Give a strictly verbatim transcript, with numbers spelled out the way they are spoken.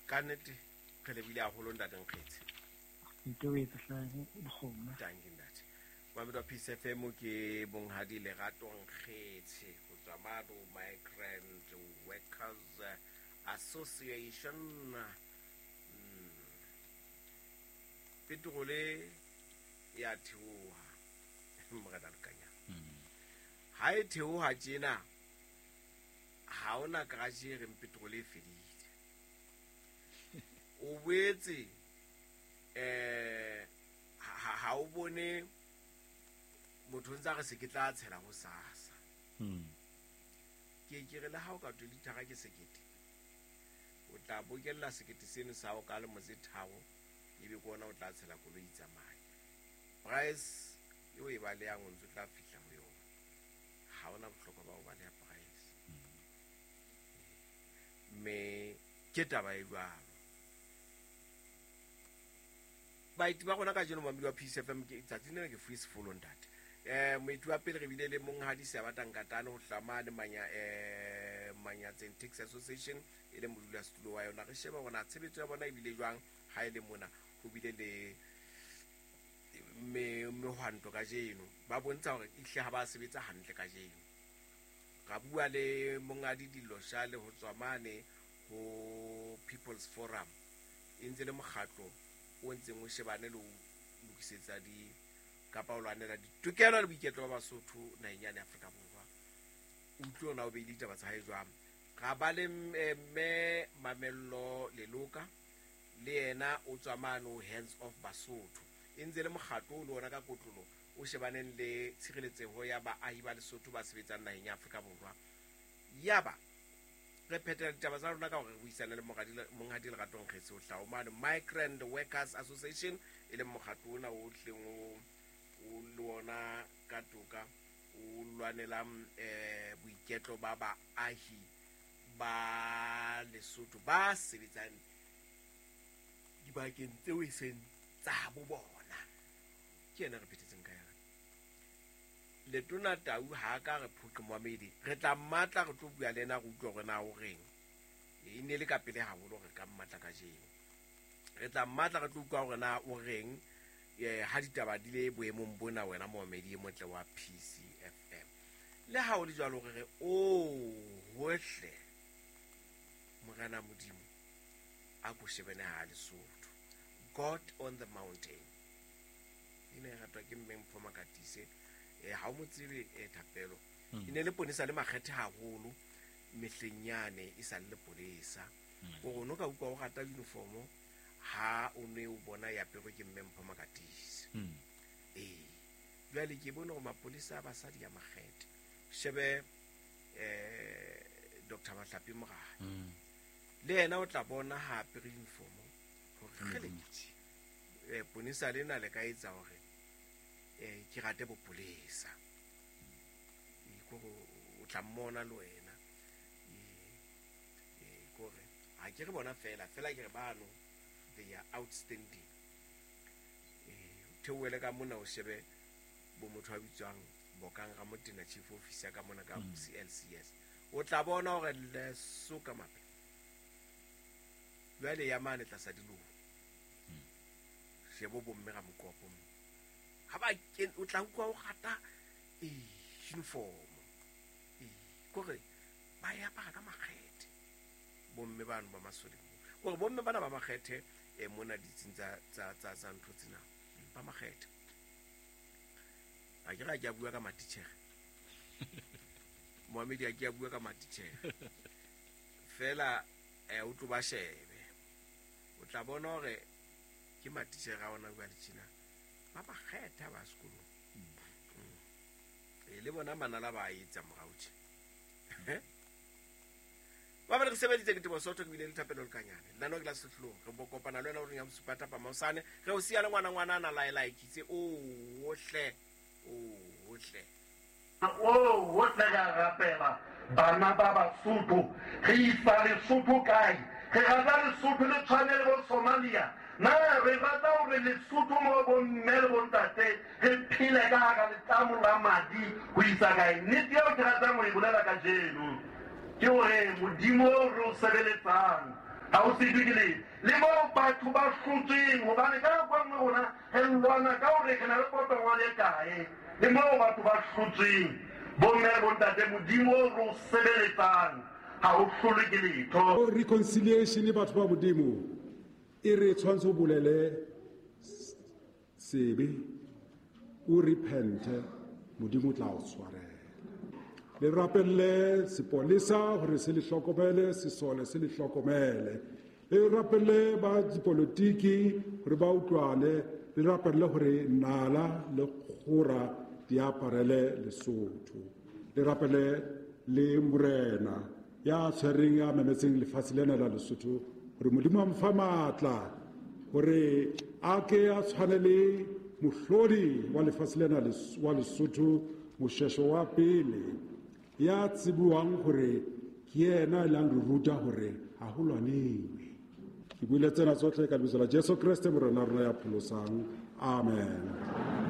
Ka nnete re lebile haholo ntate Nkgetse. Dankie ntate. Mamedi wa Peace F M ke Monghadi Lerato Nkgetse ho tswa Mado Migrant Workers Association. Mm. Petrole ya theoha morena Lekanya. Ha e theoha tjena ha ona garage e reng petrole e fedile. O boetse eh ha o bone motho ntsa re se ke tla tshela ho sasa. Mm. Ke ke re le ha o ka twe lithara ke sekete. O tla bokella sekete seno sa o ka le motse tharo ebe ke ona o tla tshela koloi tsamaya. Price eo e ba le yang o ntse tla fihla ho yona. Ha ona bohlokwa ba ho ba le price. Me ke taba e jwalo. Baeti ba rona kajeno mamedi wa Peace F M ke tsatsi lena ke free sefolo ntate. Eh moeti wa pele re bile le monghadi Seabata Nkatane ho hlamane manya eh Manyatseng Taxi Association e le modulasetulo wa yona. Re sheba hore na tshebetso ya bona e bile jwang ha e le mona ho bile le me mehwanto kajeno ba bontsha hore ehle ha ba sebetsa hantle kajeno. Ra bua le monghadi Dilosha le ho tswa mane ho People's Forum e ntse le mokgatlo o ntseng o shebane le ho lokisetsa di kapa o lwanela ditokelo le boiketlo ba Basotho naheng ya Afrika Borwa. Utlwe ona o beile ditaba tsa hae jwang. Ra ba le mme Mamello Leloka le yena o tswa mane ho Hands Off Basotho e ntse le mokgatlo o le ona ka kotlolo o shebaneng le tshireletseho ya baahi ba Lesotho ba sebetsang naheng ya Afrika Borwa. Yaba re phethela ditaba tsa rona ka hore re buisane le monghadi Lerato Nkgetse ho hlaha mane Migrant Workers Association e leng mokgatlo ona o hleng o o le ona ka toka o lwanelang eh boiketlo ba baahi ba Lesotho ba sebetsang dibakeng tseo e seng tsa bo bona. Ke yena re phethetseng ka yona. Letona Tau ha ka re phoqe moamedi re tla mmatla re tlo bua le yena re utlwe hore na o reng. E ne le ka pele haholo re ka mmatla kajeno. Re tla mmatla re tlo utlwa hore na o reng eh ha ditaba di le boemong bona wena moamedi e motle wa P C F M. Le ha o le jwalo re re o hohle Morena Modimo a ko shebene ha Lesotho. God on the mountain. Ine ratwa ke mme Mpho Makatise. Eh ha o mo tsebe eh thapelo. E ne le ponesa le makgethe haholo mehleng yane e sa le polesa. O rona ka utlwa o rata uniform ha o ne o bona ya apere ke mme Mpho Makatise. Eh jwale ke bone hore mapolisa a basadi ya makgethe. Shebe eh Doctor Mahlapi Morae. Le yena o tla bona ha apere uniform hore kgele eh ponesa lena le ka etsa hore eh ke rate bopolesa. E ko o tla mmona le wena. E kore ha ke re bona fela fela ke re bano they are outstanding. Eh theoele ka mona o shebe bo motho a bitswang Bokang Ramotena chief officer ka mona ka C L C S. O tla bona hore le soka mape. Jwale ya mane tlasa diloho. Shebo bomme ra mokopo mo. Ha ba ke o tla utlwa o rata e uniform. E kore ba ya apara ka makgethe. Bomme bano ba masole. Kore bomme bana ba makgethe e mona ditsing tsa tsa tsa tsa ntho tsena ba makgethe. A ke ra ke a bua ka matitjhere. Moamedi a ke a bua ka matitjhere. Fela eh o tlo ba shebe. O tla bona hore ke matitjhere a ona bua le tjena. Ba ba kgetha ba sekolong. E le bona manala ba etsa morao tje. Ba ba re sebeditse ke Tebo Sotho ke bile le Thapelo Lekanyane. Nna no ke la sehlong re bo kopana le wena o reng ya bosupa thapa maosane re o siya le ngwana ngwana ana laela ikitse o ohle o ohle. O ohle ka rapela bana ba Basotho re isa Lesotho kae? Re rata Lesotho le tshwane le bo Somalia. Na re rata hore Lesotho mo bo mme le bo ntate re phele ka hara letamo la madi ho isa kae? Nnete eo ke ratang ho e bolela kajeno ke hore Modimo o re o sebeletsang Ha o sitwe ke letho. Le moo batho ba hlotsweng, hobane ka nako e nngwe rona re lwana ka hore re na le potongwane e kae. Le moo batho ba hlotsweng, bomme le bontate, Modimo o re o sebeletsang ha o hlolwe ke letho. Reconciliation batho ba Modimo e re tshwanetse o bolele sebe, o repente, Modimo o tla o tshwarela. Le rapelle sepolesa hore se le hlokomele, sesole se le hlokomele. Le rapelle ba dipolotiki hore ba utlwane, le rapelle hore nala le kgora di aparele Lesotho. Le rapelle le morena ya tshwereng ya memetseng lefatshe lena la Lesotho hore Modimo a mo fa matla hore a ke a tshwane le mohlodi wa lefatshe lena wa Lesotho, Moshweshwe wa pele, ya tsebuwang hore ke yena e lang re ruta hore ha ho lwanewe. Ke buile tsena tsohle ka lebitso la Jesu Kreste morena rona ya pholosang. Amen.